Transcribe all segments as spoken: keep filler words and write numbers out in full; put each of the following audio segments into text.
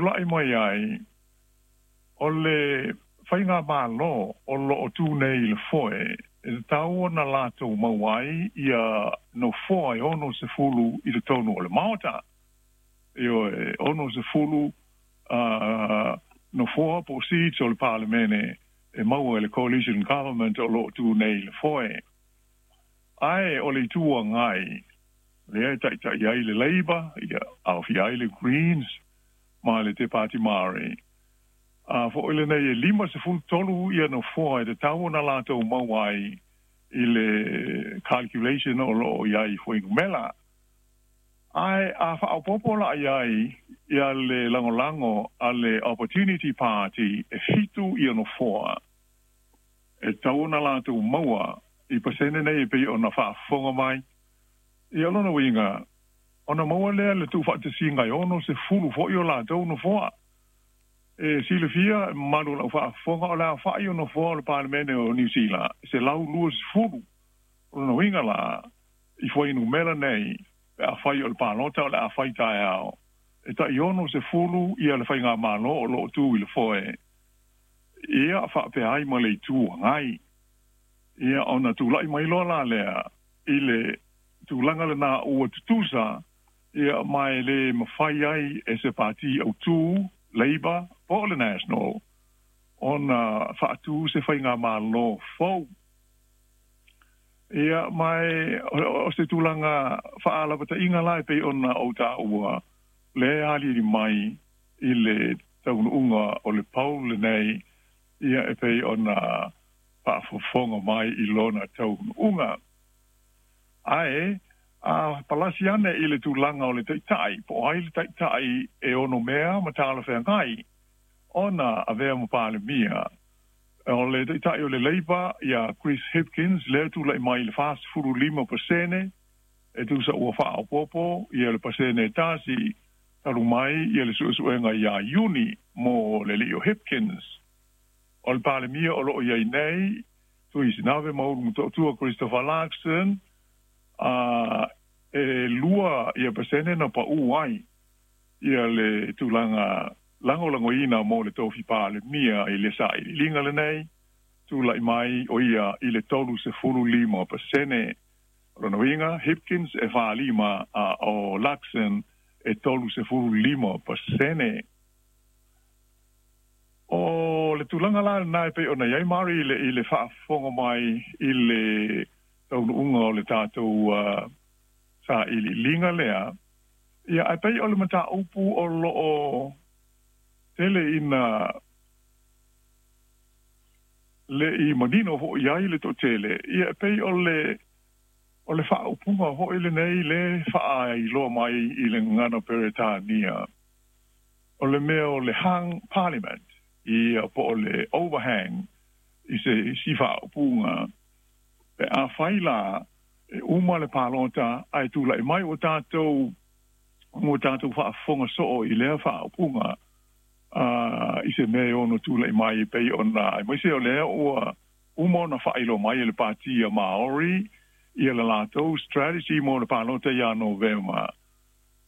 tula'i mai ai o le faiga mālō o loo tū nei i le foe e tatau ona latou maua ai ia nofoa e ono sefulu i totonu o le Maota. Ioe, ono sefulu uh, nofoa po o seats o le Palemene e maua e le coalition government o loo tū nei i le foe. Ae o le Itu Agai lea e taʻitaʻi ai le Labour, ia aofia ai le Greens ma le Te Pāti Māori a foʻi lenei e lima sefulu tolu ia nofoa e tatau ona latou maua ai i le calculation o loo i ai fuainumela. Ae a faaopopo la i ai ia le lagolago a le Opportunity Party e fitu ia nofoa e tatau ona latou maua i pasene nei e pei ona faafofoga mai ia lona uiga ona maua lea le tuufaatasiga e ono sefulu foʻi o latou nofoa. E silafia mamalu o lau faafofoga o le aofaʻi o nofoa o le Palemene o Niu Sila se lau lua sefulu. O lona uiga la i fuainumela nei pe afai o le palota o le a fai taeao e taʻi ono sefulu ia le faigamālō o loo tū i le foe ia faapea ai ma le Itu Agai ia ona tulaʻi mai loa la lea i le tulaga lenā ua tutusa ia ma e lē mafai ai e se pati autū Labour po o le National ona faatū se faigamālō fou. Ia ma e o se tulaga faalapataʻiga la e pei ona ou taua le aliali mai i le taunuuga o le poll lenei ia e pei ona faafofoga mai i lona taunuuga. Ae a palasi ane i le tulaga o le taʻitaʻi po o ai le taʻitaʻi e ono mea ma talafeagai ona avea ma Palemia o le taʻitaʻi o le Labour ia Chris Hipkins lea tulaʻi mai i le fasefulu lima pasene e tusa ua faaopopo ia le pasene e tasi talu mai ia le suesuega iā Iuni mo le alii o Hipkins. O le Palemia o loo iai nei Tuisinave Maulu Motootua Christopher Luxon a e lua ia pasene na paʻū ai ia le tulaga lagolagoina mo le tofi Palemia i le sailiiliga lenei tulaʻi mai o ia i le tolu sefulu lima pasene. O lona uiga Hipkins e falima a o Luxon e tolu sefulu lima pasene. O le tulaga la lenā e pei ona iai Mari i le, i le faafofoga mai i le taunuuga o le tatou uh, sailiiliga lea ia ae pei o le mataupu o loo tele ina le i manino foʻi ai le toʻatele ia e pei o le o le faaupuga foʻi lenei le faailoa mai i le gagana Peretania o le mea o le hung parliament ia po o le overhang i se isi faaupuga pe afai la e uma le palota ae tulaʻi mai ua tatou ua tatou faafofoga soo i lea faaupuga uh, i se mea e ono tulaʻi mai e pei ona aemaise o lea ua uma ona faailoa mai e le Patia Maori ia le latou strategy mo le palota iā Novema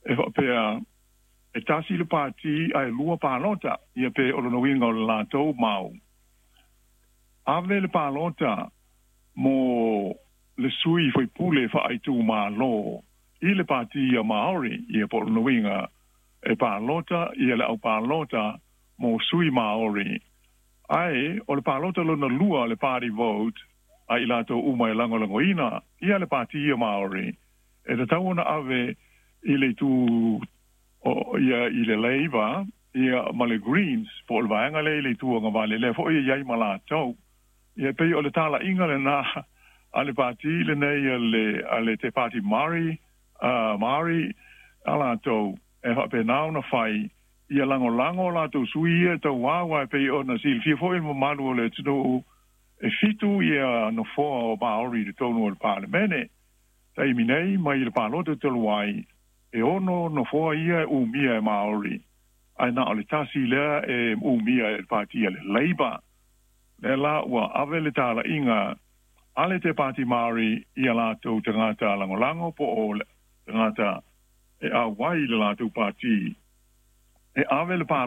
e faapea e tasi le pati ae lua palota ia pe o lona uiga o le latou mau ave le palota mo le sui faipule faaitumālō i le Pati ia Maori ia po o lona uiga e palota ia le au palota mo sui Maori ae o le palota lona lua le party vote a i latou uma e lagolagoina ia le Pati ia Maori e tatau ona ave i le itu o ia i le Labour ia ma le Greens po o le vaega lea i le itu agavale lea foʻi e iai ma latou ia pei o le talaʻiga lenā a le pati lenei a le a le Te Pāti Māori uh, Māori a latou e faapenā ona fai ia lagolago o latou sui ia e tauā uae pei ona silafia foʻi le mamalu o le atunuu e fitu ia nofoa o Maori i totonu o le Palemene taimi nei mai le palota talu ai e ono nofoa ia e umia e Maori ae na o le tasi lea e umia e le patia le Labour lea la ua ave le talaʻiga a le Te Pāti Māori ia latou tagata lagolago po o tagata e auai i le latou pati e ave le